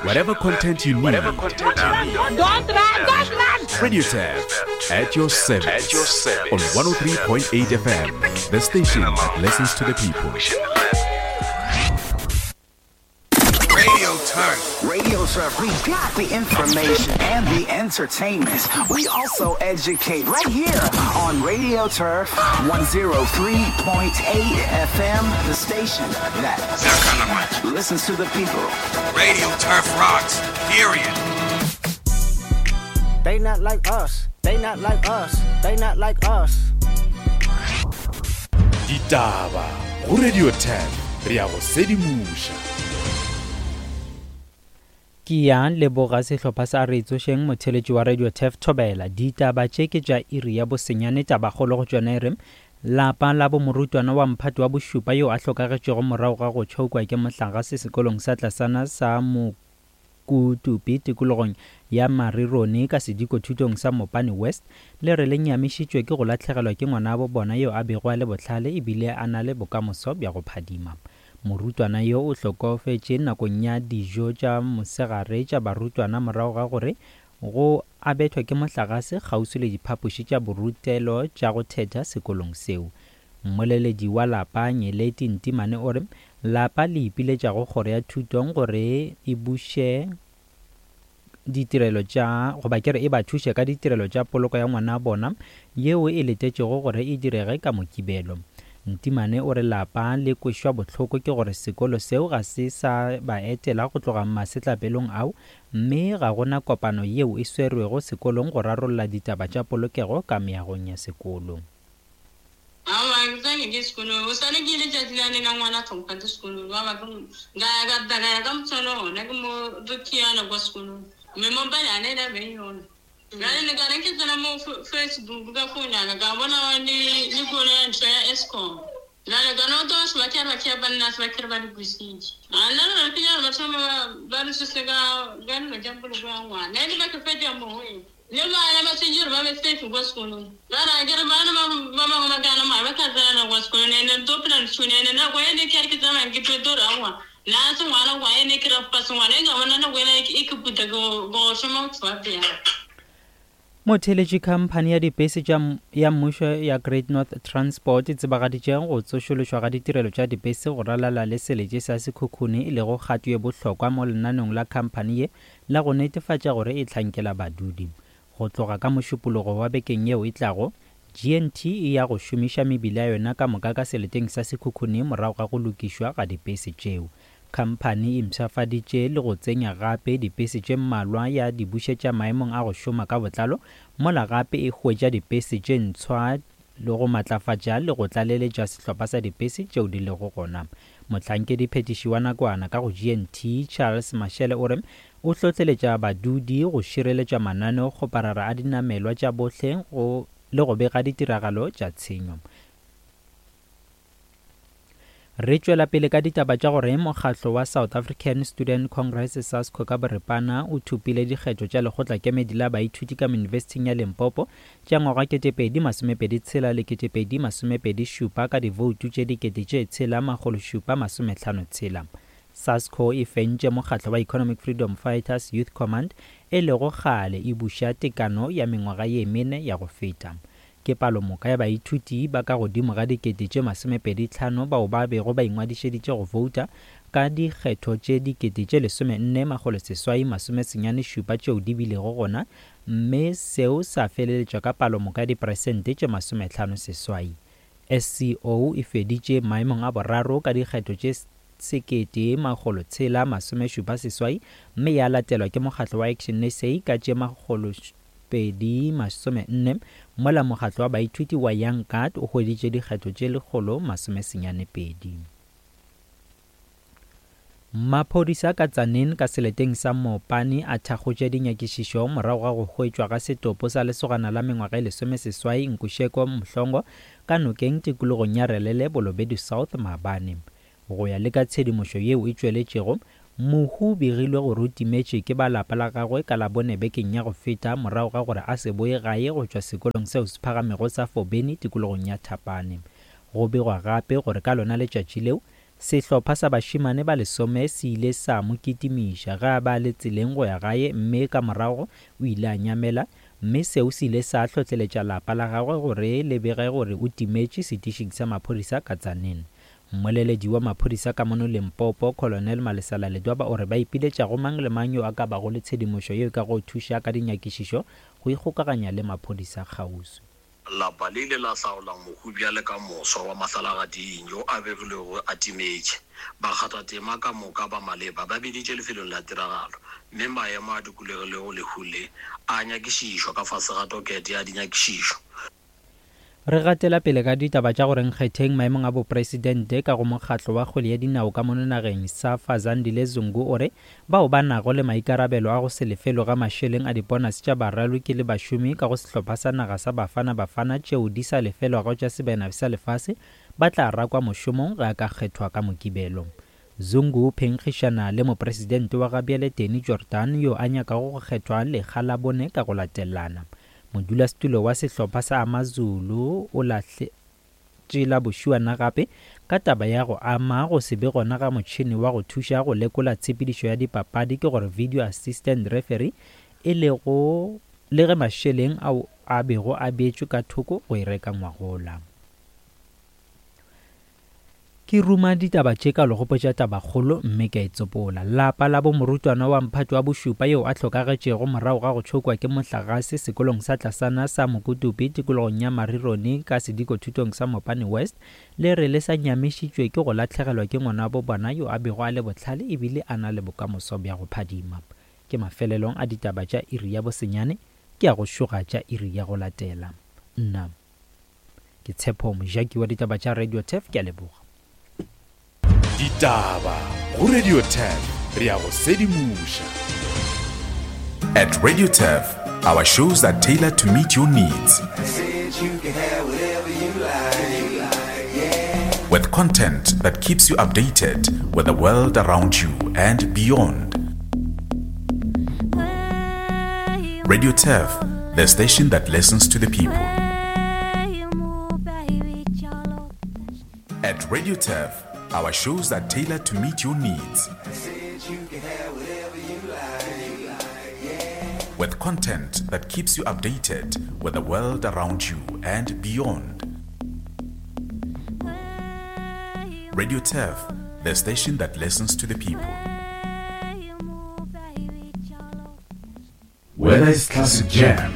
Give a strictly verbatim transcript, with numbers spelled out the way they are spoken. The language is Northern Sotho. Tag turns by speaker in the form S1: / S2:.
S1: Whatever content you need.
S2: Whatever content you need.
S3: Don't run, don't run!
S1: Radio Turf at your service.
S2: At your service.
S1: On one oh three point eight F M, the station that listens to the people.
S4: Radio Turf.
S5: Radio Turf, we got the information and the entertainment. We also educate right here on Radio Turf one oh three point eight F M, the station that listens to the people.
S4: Radio Turf rocks, period.
S6: They not like us. They not like us. They not like us.
S1: Ditaba go Radio Turf, re ya go sedimusha.
S7: Ke ya leboga sehlopha sa re tsošeng motheletši wa Radio Turf Thobela. Ditaba tše ke tša iri ya bosenyane, tabakgolo go tšona e re lapa la bo morutwana wa mphato wa bošupa yo a hlokagetšego morago ga go tšhokwa ke mohlagase sekolong sa tlasana sa Mokutupi tikologong ya Marirone ka sediko thutong sa Mopani West le re le nyamišitšwe ke go lahlegelwa ke ngwanabo bona yo a bego a le bohlale ebile a na le bokamoso bja go phadima. Morutwana yo o hlokofetše nakong ya dijo tša mosegare tša barutwana morago ga gore go a bethwa ke mohlagase kgauswi le diphapoši tša borutelo tša go thetha sekolong seo. Mmoleledi wa lapa Nyeleti Ntimane o re lapa le ipiletša go kgoro ya thutong gore e buše ditirelo tša goba ke re e ba thuše ka ditirelo tša poloko ya ngwana bona yeo e letetšego gore e direge ka Mokibelo. Ntimane o re lapa le kwešwa bohloko ke gore sekolo seo ga se sa ba etela go tloga masetlapelong ao, mme ga gona kopano yeo e swerwego sekolong go rarolla ditaba tša polokego ka meagong ya sekolo.
S8: Awa ke ke sekolo o sane ke ile tšatši la nena ngwana tlhompha sekolo wa ba ga ga ga ka motshwana ona ke mo rukiana kwa sekolong mme mo bana ne la beng yona. Jwale le ka re ke tsena mo Facebook ka founana ka bona le le kolo ya ntho ya Eskom. Jwale ka no to se ba ke ba ke ba nna se ba ke ba di busitse. A nna re ke ya ba thoma ba re se ka ga nna ja poloko ya ngwana. Ne le ba ke fetja mo ho e. Le bana ba tsejere ba be safe kwa sekolong. Ba ra ke re bana ba ba bangwe ba kana ma ba ka tsena kwa sekolong ne ne to plan tshune ne na go ene ke re ke tsamaya ke Pretoria wa. Na se ngwana wa ene ke ra pa se ngwana e ga bona na go ena e ke puta go go shoma go tswa pele.
S7: Motheletši khamphani ya dipese tša ya mmušo ya Great North Transport e tsebagaditše go tsošološwa ga ditirelo tša dipese go ralala le seletše sa Sekhukhune e lego kgato ye bohlokwa mo lenaneong la khamphani ye la go netefatša gore e hlankela badudi. Go tloga ka mošupologo wa bekeng yeo e tlago, G N T e ya go šomiša mebila ya yona ka moka ka seleteng sa Sekhukhune morago ga go lokišwa ga dipese tšeo. Khamphani e mpshafaditše le go tsenya gape dipese tše mmalwa ya di bušetša maemong a go šoma ka botlalo, mola gape e hwetša dipese tše ntshwa le go matlafatša le go tlaleletša sehlopha sa dipese tšeo di lego gona. Mohlankedi phetiši wa nakwana ka go G N T Charles Mashele o re o hlohleletša badudi go šireletša mananeo kgoparara a dinamelwa tša bohle go le go bega ditiragalo tša tshenyo. Re tšwela pele ka ditaba tša gore mokgatlo wa South African Student Congress SASCO ka boripana o thopile dikgetho tša lekgotlakemedi la baithuti ka Yunibesithing ya Limpopo tša ngwaga ketepedi masomepedi tshela le ketepedi masomepedi šupa ka divoutu tše dikete tše tshela makgolo šupa masomehlano tshela. SASCO e fentše mokgatlo wa Economic Freedom Fighters Youth Command e lego kgale e buša tekano ya mengwaga ye mene ya go feta. Ke palomoka ya baithuti ba ka godimo ga dikete tše masomepedi tlhano bao ba bego ba ingwadišeditše go vouta ka dikgetho tše dikete tše lesomenne makgolo seswai masomesenyane šupa tšeo di bilego gona, mme seo sa feleletšwa ka palomoka ya diperesente tše masomehlano seswai. S C O e feditše maemong a boraro ka dikgetho tše sekete makgolo tshela masomešupa seswai, mme ya latelwa ke mokgatlo wa Action S A ka tše makgolo pedi masomenne, mola mokgatlo wa baithuti wa Young Guard o hweditše dikgetho tše lekgolo masomesenyane pedi. Maphodisa ka Tzaneen ka seleteng sa Mopani a thakgotše dinyakišišo morago ga go hwetšwa ga setopo sa lesogana la mengwaga e lesomeseswai Nkusheko Mhlongo ka nokeng tikologong ya Relele Bolobedu South maabane. Go ya le ka tshedimošo yeo e tšweletšego, mohu begilwe gore o timetše ke ba lapa la gagwe ka Labone bekeng ya go feta morago ga gore a se boe gae go tšwa sekolong seo se phagamego sa Fobeni tikologong ya Thapane. Go begwa gape gore ka lona letšatši leo Sehlopha sa bašemane ba lesome se ile sa mo kitimiša ge a ba le tseleng go ya gae mme ka morago o ile a nyamela, mme seo se ile sa hlohleletša lapa la gagwe gore le bege gore o timetše setišing sa maphodisa ka Tzaneen. Mmoleledi wa maphodisa ka mono Limpopo, Colonel Malesela Ledwaba, o re ba ipiletša go mang le mang yo a ka bago le tshedimošo yeo e ka go thuša ka dinyakišišo go ikgokaganya le maphodisa kgauswi.
S9: Lapa le ile la hlaola mohu bjale ka moswa wa mahlalagading yo a begilwego a timetše. Bakgathatema ka moka ba maleba ba biditše lefelong la tiragalo mme maemo a dikologilego lehu le a nyakišišwa ka fase ga tokete ya dinyakišišo.
S7: Re gatela pele ka ditaba tša gore nkgetheng maemong a bopresidente ka go mokgatlo wa kgwele ya dinao ka mono nageng Safa Zandile Zungu o re bao ba nago le maikarabelo a go se lefelwe ga mašeleng a diponase tša baraloki le bašomi ka go sehlopha sa naga sa Bafana Bafana tšeo di sa lefelwago tša sebena sa lefase ba tla rakwa mošomong ge a ka kgethwa ka Mokibelo. Zungu o phenkgišana le mopresidente wa gabjale Danny Jordaan yo a nyakago go kgethwa lekga la bone ka go latelana. Modulasetulo wa sehlopha sa AmaZulu o lahletše la bošuana gape ka taba ya go ama go se be gona ga motšhene wa go thuša go lekola tshepedišo ya dipapadi ke gore video assistant referee e lego le ge mašeleng ao a bego a beetšwe ka thoko go e reka ngwagola. Ke ruma ditaba tše ka legopotša tabakgolo mme ka e tsopola. Lapa la bo morutwana wa mphato wa bošupa yeo a hlokagetšego morago ga go tšhokwa ke mohlagase sekolong sa tlasana sa Mokutupi tikologong ya Marironi ka sedikothutong sa Mopani West le re le sa nyamišitšwe ke go lahlegelwa ke ngwanabo bona yo a bego a le bohlale ebile a na le bokamoso bja go phadima. Ke mafelelong a ditaba tša iri ya bosenyane, ke a go šoga tša iri ya go latela. Nna ke Tshepo Mojaki wa ditaba tša Radio Turf, ke a leboga.
S1: Ditaba go Radio Turf, re a go sedimoša.
S2: At Radio Turf, our shows are tailored to meet your needs. With content that keeps you updated with the world around you and beyond. Radio Turf, the station that listens to the people. At Radio Turf, our shows are tailored to meet your needs. With content that keeps you updated with the world around you and beyond. Radio Turf, the station that listens to the people.
S1: Whether it's classic jams,